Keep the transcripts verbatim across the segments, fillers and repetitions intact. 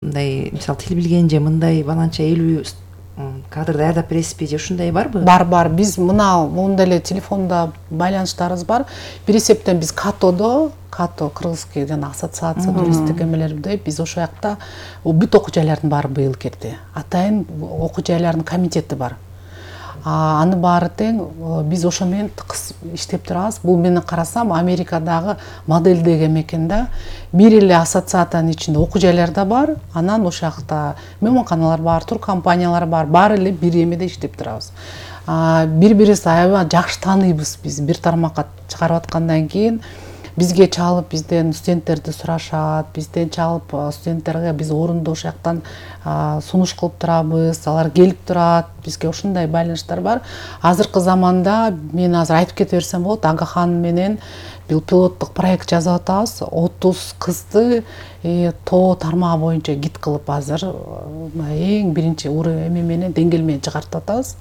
мындай мисалы тил билген же мындай баланча элүү кадрды даярдап бересизби же ушундай барбы? Бар бар. Биз мына монда эле телефонда байланыштарыбыз бар. Бир эсептен биз Катодо, Като кыргызский жана ассоциация туристтик эмелерде биз ошол жакта бүт окуу жайлардын баары быйыл кирди. Атайын окуу жайлардын комитети бар. Аны баары тең биз ошо менен тыкыз иштеп турабыз. Бул менен карасам Америкадагы модель деген мекенде бир эле ассоциациянын ичинде окуу жайлар да бар. Анан ошол жакта мейманканалар бар, тур компаниялар бар. Баары эле бир эмеде иштеп турабыз. Бири-бирибизди аябай жакшы тааныйбыз. Биз бир тармакка чыгарып аткандан кийин бизге чалып бизден студенттерди сурашат, бизден чалып студенттерге биз орунду ошол жактан сунуш кылып турабыз, алар келип турат, бизге ушундай байланыштар бар. Азыркы заманда мен азыр айтып кете берсем болот, Агахан менен бул пилоттук проект жазып атабыз. отуз кызды тоо тармагы боюнча гид кылып азыр эң биринчи уровень эме менен деңгээл менен чыгартып атабыз.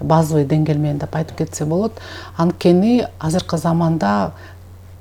Базовый деңгээл менен деп айтып кетсе болот. Анткени азыркы заманда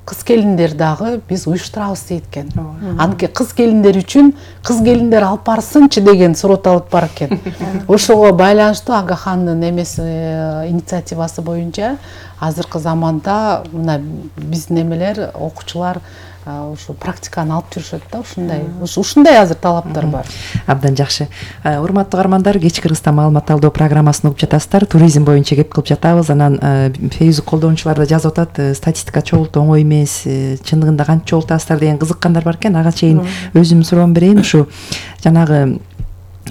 кыз келиндер дагы биз уюштурабыз дейт экен. Анткени кыз келиндер үчүн кыз келиндер алып барсынчы деген сурот алып бар экен. Ошого байланыштуу Агахандын эмеси инициативасы боюнча азыркы заманда мына биздин эмелер окуучулар ошо практиканы алып жүрүшөт да, ушундай. Ушундай азыр талаптар бар. Абдан жакшы. Урматтуу каармандар, кечки Кыргызстан маалымат алуу программасын угуп жатасыздар. Туризм боюнча кеп кылып жатабыз. Анан Facebook колдонуучулар да жазып атат, статистика чогултуу оңой эмес, чындыгында канча чогултасыздар деген кызыккандар бар экен. Ага чейин өзүм суроо берейин. Ушу жанагы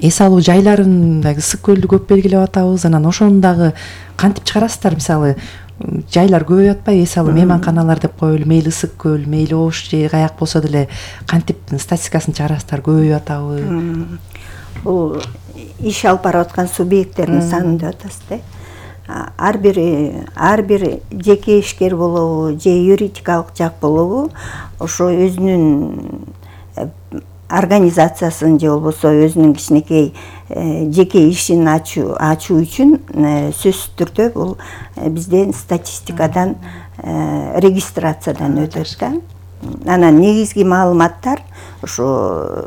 эс алуу жайларын дагы Ысык көлдү көп белгилеп атабыз. Анан ошону дагы кантип чыгарасыздар? Мисалы жайлар көбөйүп атпайбы? Эс алуу мейманканалар деп коелу, мейли Ысык көл, мейли Ош же каяк болсо деле кантип статистикасын чыгарасыздар? Көбөйүп атабы? Бул иш алып барып аткан субъекттердин санын деп атасыз да. Ар бир ар бир жеке ишкер болобу же юридикалык жак болобу, ошо өзүнүн организациясын же болбосо өзүнүн кичинекей жеке ишин ачуу ачуу үчүн сөзсүз түрдө бул бизден статистикадан регистрациядан өтөт да. Анан негизги маалыматтар ошо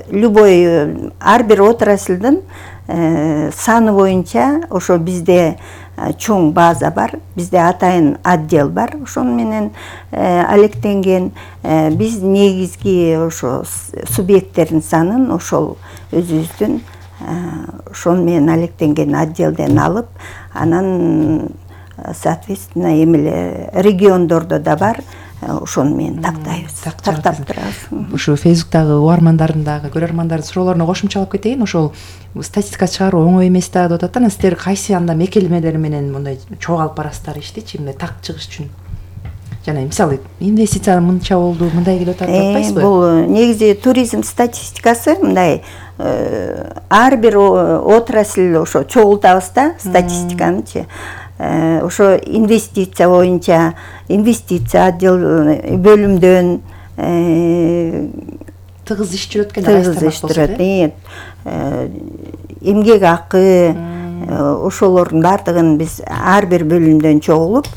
любой ар бир отраслдын саны боюнча ошо бизде чоң база бар, бизде атайын отдел бар. Ошону менен алектенген биз негизги ошо субъекттердин санын ошол өзүбүздүн ошону менен алектенген отделден алып, анан соответственно эмеле региондордо да бар, ошону менен тактайбыз, тактап турабыз. Ушу Facebook'тагы угармандардын дагы көрөрмандардын суроолоруна кошумчалап кетейин. Ошол статистика чыгаруу оңой эмес да деп атат. Анан сиздер кайсы анда мекемелер менен мындай чогуу алып барасыздар иштичи, мындай так чыгыш үчүн? Жана мисалы инвестиция мынча болду, мындай келип атат деп атпайсызбы? Бул негизи туризм статистикасы мындай ар бир отрасль ошо чогултабыз да статистиканычы. Ошо инвестиция боюнча инвестиция отдел бөлүмдөн тыгыз иш жүрөт экен, тыгыз иш жүрөт. Эмгек акы ошолордун бардыгын биз ар бир бөлүмдөн чогулуп,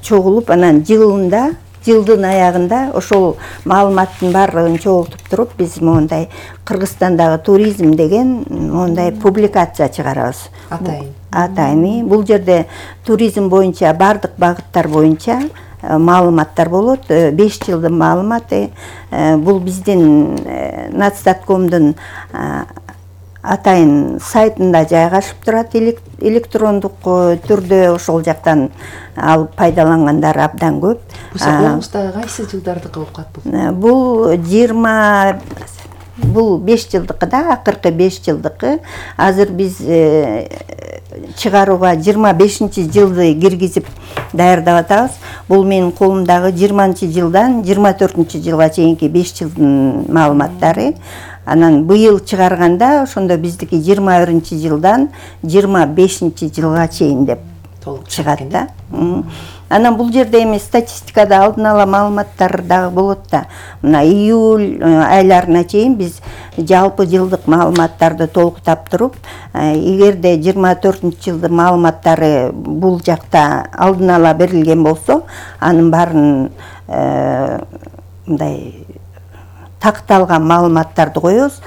чогулуп анан жылында жылдын аягында ошол маалыматтын баардыгын чогултуп туруп биз мондай Кыргызстандагы туризм деген мондай публикация чыгарабыз. Атайын. Атайын. Бул жерде туризм боюнча бардык багыттар боюнча маалыматтар болот. беш жылдын маалыматы. Бул биздин Нацдаткомдун атайын сайтында жайгашып турат, электрондук түрдө ошол жактан алып пайдалангандар абдан көп. Бул колуңуздагы кайсы жылдардыкы болуп калат бул? Бул жыйырма бул беш жылдыкы да, акыркы беш жылдыкы. Азыр биз чыгарууга жыйырма бешинчи жылды киргизип даярдап атабыз. Бул менин колумдагы жыйырманчы жылдан жыйырма төртүнчү жылга чейинки беш жылдын маалыматтары. Анан быйыл чыгарганда ошондо биздики жыйырма биринчи жылдан жыйырма бешинчи жылга чейин деп чыгат да. Анан бул жерде эми статистикада алдын ала маалыматтар дагы болот да. Мына июль айларына чейин биз жалпы жылдык маалыматтарды толуктап туруп, эгерде жыйырма төртүнчү жылдын маалыматтары бул жакта алдын ала берилген болсо, анын баарын мындай такталган маалыматтарды коебуз.